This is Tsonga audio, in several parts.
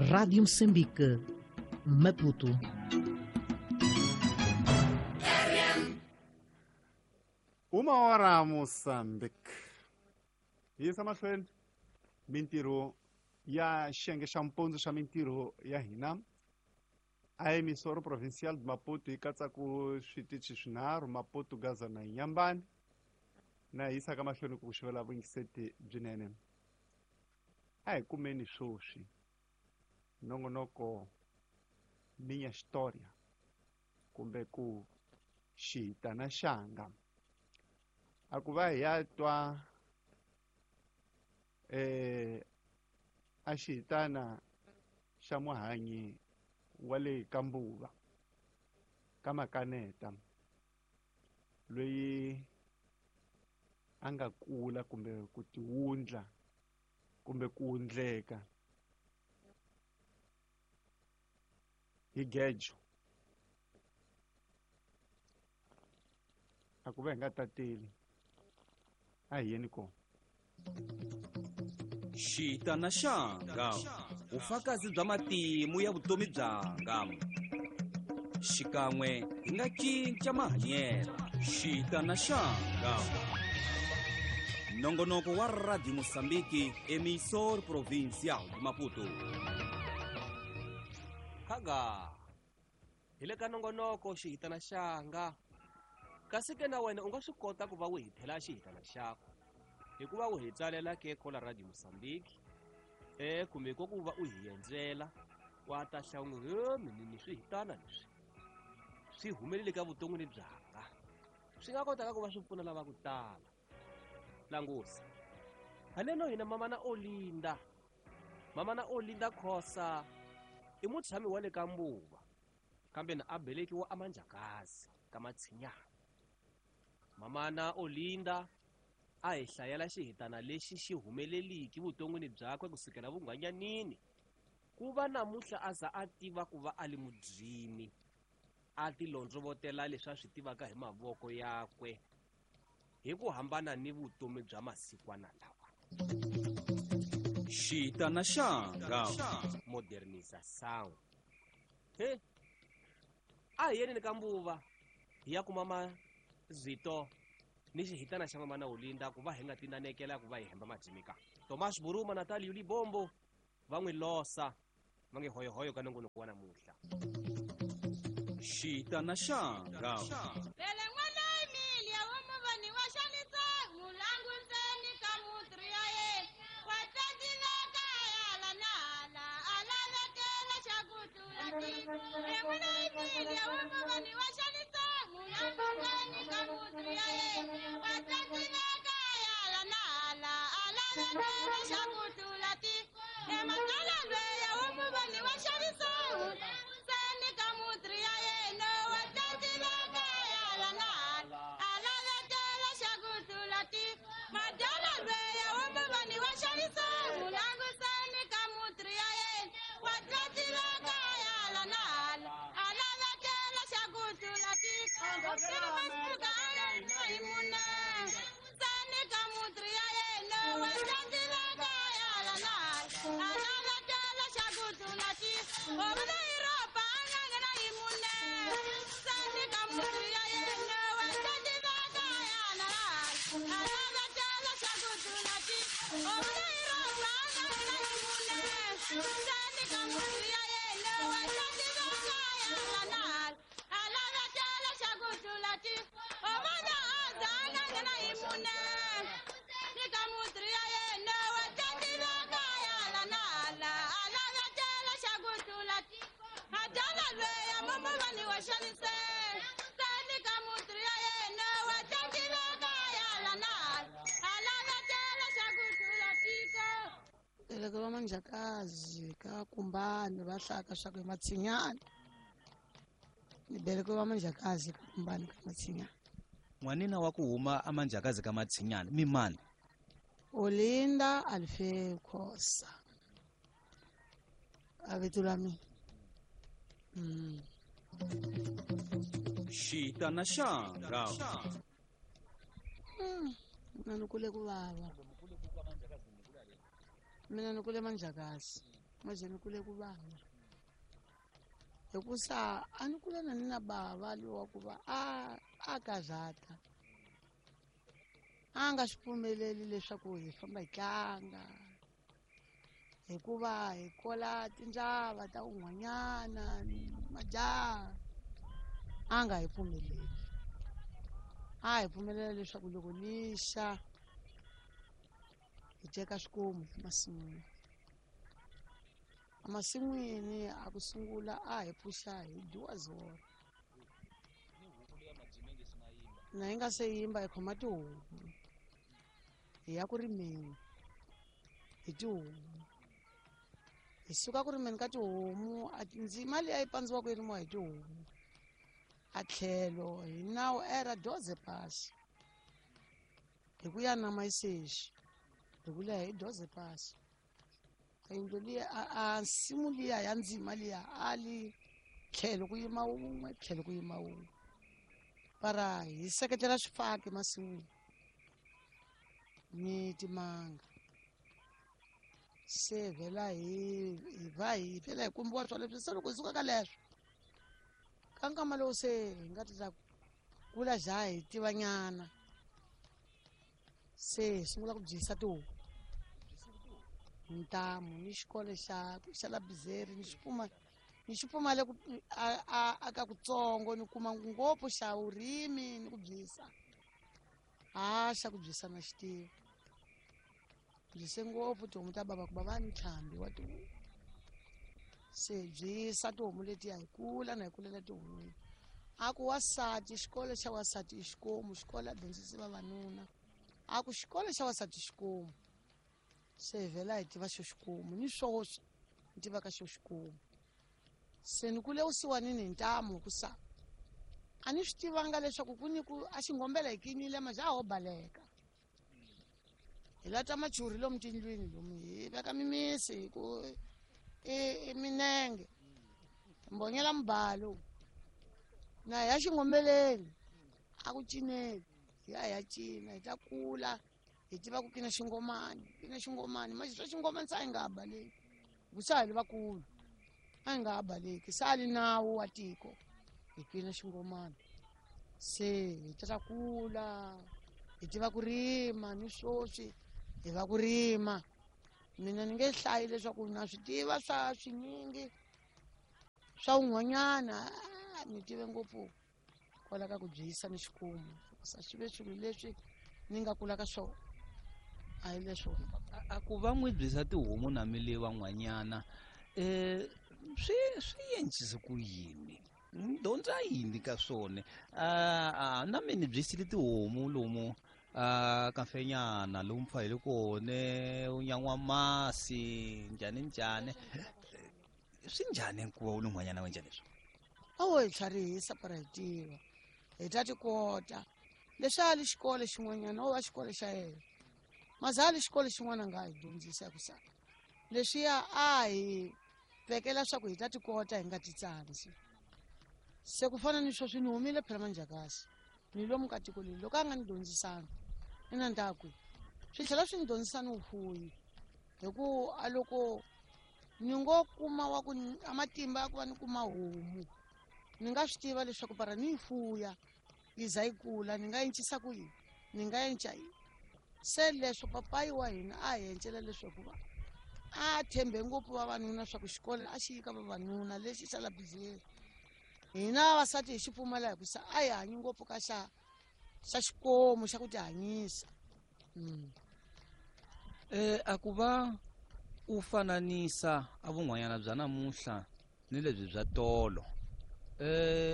Rádio Moçambique, Maputo. 1 hora Moçambique. Yisa mahlweni mintirho ya xiyenge xa mpundzu xa mintirho ya hina a Emissora Provincial de Maputo yi katsa ku switichi swinharhu, Maputo, Gaza na Inhambane, na yisaka mahlweni ku xivela vuyingiseti byinene. A hi kumeni swoswi nongonoko Minha História kumbe ku xihitana xanga, a ku va hi ya twa a xihitana xa muhanyi wa le ka Mbuva ka Makaneta, loyi a nga kula kumbe ku tiwundla kumbe ku wundleka hi gejo. A ku va hi nga tateli, a hi yeni kona. Xitana xanga, vufakazi bya matimu ya vutomi byanga. Xikan'we hi nga cinca mahanyelo. Xitana xanga, nongonoko wa Radio Mosambiki, Emissor Provincial de Maputo. Khaga hi le ka nongonoko xihitana xanga, kasi ke na wena u nga swi kota ku va u hi thela xihitana xakho hikuva u hi tsalela ke kola Radio Mosambiki kumbe ko ku va u hi endzela wa ta hlawula he minini swihitana leswi swi humelele ka vuton'wini byanga, swi nga kotaka ku va swi pfuna lava ku tala. Langusa haleno hina mamana Olinda, mamana Olinda Khosa i mutshami wa le ka Mbuva, kambe na a belekiwa amanjakazi ka Matshinyana. Mamana Olinda a hi hlayela xihitana lexi xi humeleliki vuton'wini byakwe kusukela vunghwanyanini ku va namuntlha a za a tiva ku va a li mudzimi, a ti londzovotela leswi a swi tivaka hi mavoko yakwe hi ku hambana ni vutomi bya masikwana lawa. Xitana xanga, modernização. He a hi yeneni ka Mbuva hi ya kuma mazito ni xihitana xa mamana Olinda ku va hi nga tinanekela ku va hi hemba majimika. Tomas Buruma, Natalio Libombo va n'wi losa va nge hoyohoyo ka nongonoko wa namuntlha. Xitana xanga. Vele n'wana Emilia wa muvani wa xanisa mulanguseni ka mutri ya yena wa tsandzile kaya la na hala a lavekela xa ku tlula tiko. N'wana Emilia wa muvani wa xanisa mulanguseni ka mutri ya yena wa tsandzile kaya la na hala a lavekela xa ku tlula tiko. Ematala lweya wa muvani wa xanisa mulanguseni ka mutri ya yena wa tsandzile kaya la na hala a lavekela xa ku tlula tiko. Madala lweya wa muvani wa xanisa mulanguseni ka mutri ya yena wa tsandzile kaya la na hala a lavekela xa ku tlula tiko. Masiku a hi mune seni ka mutri ya yena wa tsandzile kaya la na hala a lavekela xa ku tlula tiko. Ovula Yuropa a nga nghena hi mune seni ka mutri ya yena wa tsandzile kaya la na hala a lavekela xa ku tlula tiko. Ovula Yuropa a nga nghena hi mune seni ka mutri ya yena wa tsandzile kaya la na hala a lavekela xa ku tlula tiko. Ovana aza a nga nghena hi mune ni ka mutri ya yena wa tsandzile kaya la na hala a lavekela xa ku tlula tiko. Madala lweya mumuvani wa xanise seni ka mutri ya yena wa tsandzile kaya la na hala a lavekela xa ku tlula tiko. Loko va manjakazi ka kumbani va hlaka swa ku hi Matshinyana, ni beleko va manjakazi ka kumbani ka Matshinyana. N'wanina wa ku huma amanjakazi ka Matshinyana mi mani? Olinda Alfeu Khosa a vito la mina. Xitana xanga. Mina ni kule ku vava, mina ni kule manjakazi. Maze ni kule ku vava hikusa a ni kula na ni na bava lowa ku va a karhata a nga swi pfumeleli leswaku hi famba hi tlanga hikuva hi kola tindzava ta un'wanyana majaha a nga hi pfumeleli a hi pfumelela leswaku loko lixa hi teka swikomu emasin'wini emasin'wini a ku sungula a hi pfuxa hi dyiwa zolo na hi nga se yimba hi khoma tihomu hi ya ku rimeni hi tihomu hi suka ku rimeni ka tihomu ndzima liya yi pandziwaka yi rimiwa hi tihomu a tlhelo hi nawu era doze pasi hi ku ya nama yisexi hi ku leha hi doze pasi yindlu liya a nsimu liya ya ndzima liya a li tlhelo ku yima wun'we tlhelo ku yima wun'we para hi seketela swifaki masin'wini ni timanga se vhela hi va hi vhela hi kumbiwa swa leswi se loko hi suka ka leswo ka nkama lowu se hi nga ta kula ja hi tivanyana se hi sungula ku byisa tihuku ntamu ni xikolo xa la bizeri ni xi pfumale ku a ka kutsongo ni kuma ngopfu xa vurimi ni ku byisa a xa ku byisa na xitiva byise ngopfu tihomu ta bava ku va va ni ntlhambi wa tihomu se byisa tihomu letiya hi kula na hi kulela tihon'wini a ku wasati xikolo xa wasati i xikomu xikolo a dyondzisi vavanuna a ku xikolo xa wasati xikomu se hi vhela hi tiva xo xikomu ni swoswi ni tiva ka xo xikomu se ni kule vusiwanini hi ntamu ku sa a ni swi tivanga leswaku ku ni ku a xingombela hi kinile maja a ho baleka hi lata machuri lomu tindlwini lomu hi veka mimisi hi ku i minenge mbonyela mubalo na hi ya xingombeleni a ku cineli hi ya hi ya cina hi ta kula hi tiva ku kina xingomani kina xingomani manje swa xingomani se a hi nga ha baleki ku sa ha li vakulu a hi nga ha baleki se a li nawu wa tiko hi kina xingomani se hi ta kula hi tiva ku rima ni swoswi hi va ku rima mina ni nge hlayi leswaku na swi tiva swa swinyingi swa un'wanyana ni tive ngopfu kwala ka ku byisa ni xikomu sa swi ve swilo leswi ni nga kula ka swona a hi leswo a ku va n'wi byisa tihomu na mi le van'wanyana swi endlise ku yini ni dyondza yini ka swona na mina ni byisile tihomu lomu ka mfenyana lomu pfa hi le kone u nyan'wa masi njhani njhani swi njhani ku va u ni n'wanyana wa njhani leswi a wo hi tlharihisa para hi tiva hi ta ti kota leswi a li xikolo xin'wanyana wo va xikolo xa yena maze a li xikolo xin'wana a nga hi dyondzisa hi ku sa leswiya a hi vekela swa ku hi ta ti kota hi nga ti tsandzi se ku fana ni sweswi ni humile phela manjhakasi ni lomu ka tiko leri loko a nga ni dyondzisanga ni na ndhaku swi tlhela swi ni dyondzisa ni vufuyi hi ku a loko ni ngo kuma wa ku a matimba ya ku va ni kuma homu ni nga swi tiva leswaku para ni yi fuya yi za yi kula ni nga encisa ku yini ni nga enca yini se leswo papayi wa hina a hi encela leswaku va a tshembe ngopfu vavanuna swa ku xikolo a xi yi ka vavanuna lexi xa la bizeri hina vavasati hi xi pfumela hi ku sa a hi hanyi ngopfu ka xa xikomu xa ku tihanyisa a ku va u fananisa a vun'wanyana bya namuntlha ni lebyi bya tolo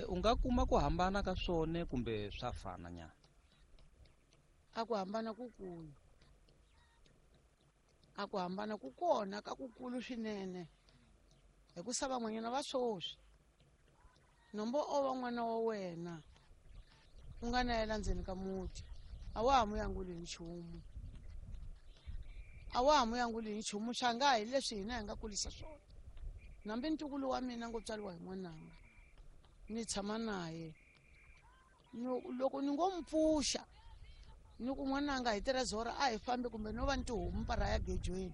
u nga kuma ku hambana ka swona kumbe swa fana nyana a ku hambana kukulu a ku hambana ku kona ka kukulu swinene hi ku sa van'wanyana va swoswi nombo o va n'wana wa wena u nga na yela ndzeni ka muti a wa ha mu yanguli hi nchumu a wa ha mu yanguli hi nchumu swa nga hi leswi hina hi nga kulisa swona nambi ntukulu wa mina ngo tswariwa hi n'wananga ni tshama naye loko ni ngo mpfuxa ni ku n'wananga hi tirha zora a hi fambi kumbe no va ni tihomu para ya gejweni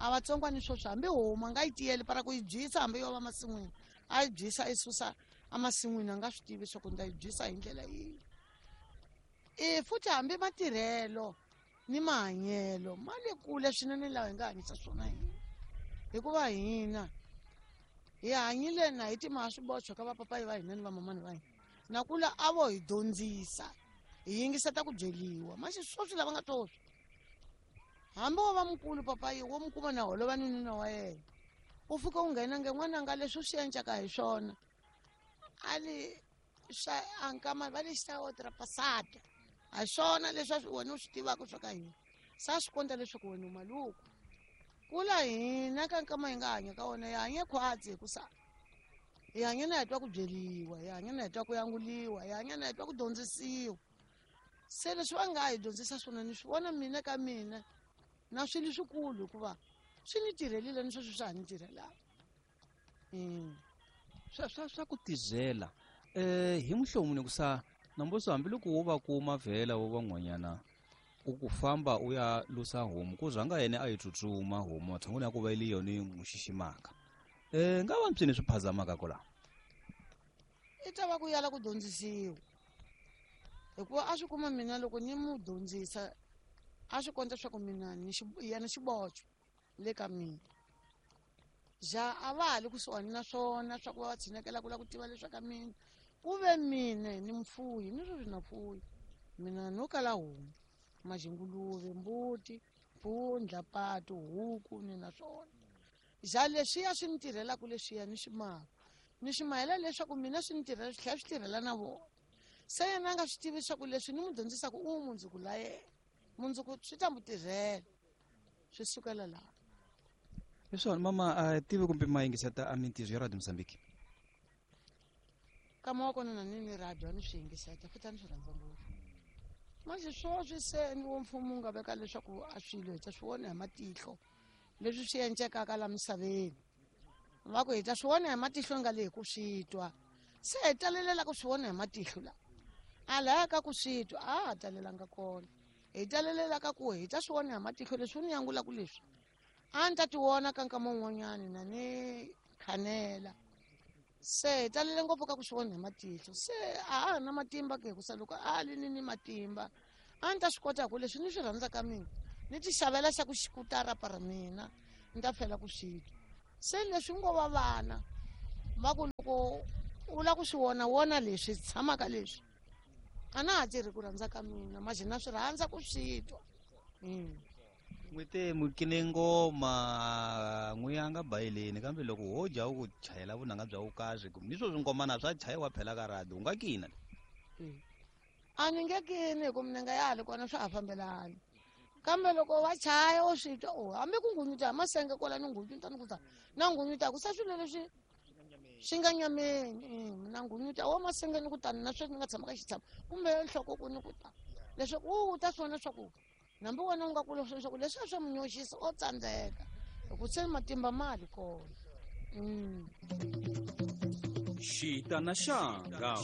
A vatsongwani sweswi hambi homu a nga yi tiyeli para ku yi byisa hambi yo va masin'wini a yi byisa i susa emasin'wini a nga swi tivi swa ku ni ta yi byisa hi ndlela yihi. E futhi hambi matirhelo ni mahanyelo ma le kule swinene lawa hi nga hanyisa swona hina, hikuva hina hi hanyile na hi timhaka swiboxo ka vapapayi va hina ni vamamani va hina, na kula a vo hi dyondzisa hi yingiseta ku byeliwa. Maxi sweswi lava nga sweswi hambi wo va mukulu papayi wo mi kuma na holova ni nuna wa yena, u fika u nghena nge n'wananga leswi u swi endlaka hi swona a li swa ankama va le xa otrapasada a hi swona leswi wena u swi tivaka swa ka hina, sa swi kondza leswaku wena u maluku. Kula hina ka nkama hi nga hanya ka wona hi hanye khwatsi hikusa hi hanye na hi twa ku byeliwa, hi hanye na hi twa ku yanguliwa, hi hanye na hi twa ku dyondzisiwa. Se leswi va nga hi dyondzisa swona ni swi vona mina ka mina na swilo swikulu hikuva swi ni tirhelile ni sweswi swa ha ni tirhelaka. Swa ku tizela hi muhlovo ni ku sa namboso hambiloko wo va kuma vhela wo van'wanyana u ku famba u ya lusa homu ku rhanga yena a yi tsutsuma homu matshan'wini ya ku va yi yona yi n'wi xiximaka, nga va mpyini swi phazamaka kwala i ta va ku yala ku dyondzisiwa, hikuva a swi kuma mina loko ni mu dyondzisa a swi kondza swa ku mina ni yena xiboxo le ka mina. Ja a va ha le kusuhani na swona swa ku va va tshinekela ku lava ku tiva leswaku ka mina ku ve mina ni mufuyi, ni sweswi na fuyi mina no kala homu, maxinguluve, mbuti, mpfundla, patu, huku ni na swona. Ja leswiya swi ni tirhelaka leswiya ni swi maka ni swi mahela leswaku mina swi ni tirhela swi tlhela swi tirhela na vona. Se yena a nga swi tivi leswaku leswi ni n'wi dyondzisaka u mundzuku la yena, mundzuku swi ta n'wi tirhela swi sukela laha. Leswona mama a tivi kumbe ma yingiseta a mintirho ya Radio Mozambique? Kama wa kona na ni ni radio a ni swi yingiseta futhi a ni swi rhandza ngopfu. Manje sweswi se ni wo mfumo wu nga veka leswaku a swilo hi ta swi vona hi matihlo leswi swi endlekaka la misaveni, va ku hi ta swi vona hi matihlo nga le hi ku swi twa, se hi talelela ku swi vona hi matihlo la a laya ka ku swi twa a ha talelanga kona, hi talelela ka ku hi ta swi vona hi matihlo leswi ni yangulaka leswi a ni ta ti vona ka nkama wun'wanyani na ni khanela. Se hi talele ngopfu ka ku swi vona hi matihlo, se a ha ha na matimba ke hikusa loko a li ni ni matimba a ni ta swi kota ku leswi ni swi rhandzaka mina ni ti xavela xa ku xikutara para mina ni ta fela ku swi twa. Se leswi ngo va vana va ku loko u lava ku swi vona vona leswi tshamaka leswi a na ha tirhi ku rhandza ka mina manje na swi rhandza ku swi twa. N'wi te mukine ngoma n'wi ya nga bayeleni kambe loko ho dya u ku chayela vunanga bya vukazi ni swo swingomana swa chayiwa phela ka radio u nga kina. A ni nge kini hi ku minenga ya ha li kona swa ha fambelani, kambe loko va chaya u swi twa o hambi ku ngunyuta hi masenge kwala ni ngunyuta ni ku ta na ngunyuta ku sa swilo leswi swi nga nyameni, na ngunyuta wa masenge ni ku tani na sweswi ni nga tshama ka xitshamo kumbe nhloko ku ni ku ta leswaku u ta swi vona swa ku nambi wena u nga kula swi leswaku leswi a swa munyoxisa o tsandzeka hi ku se matimba ma li kona. Xitana xanga.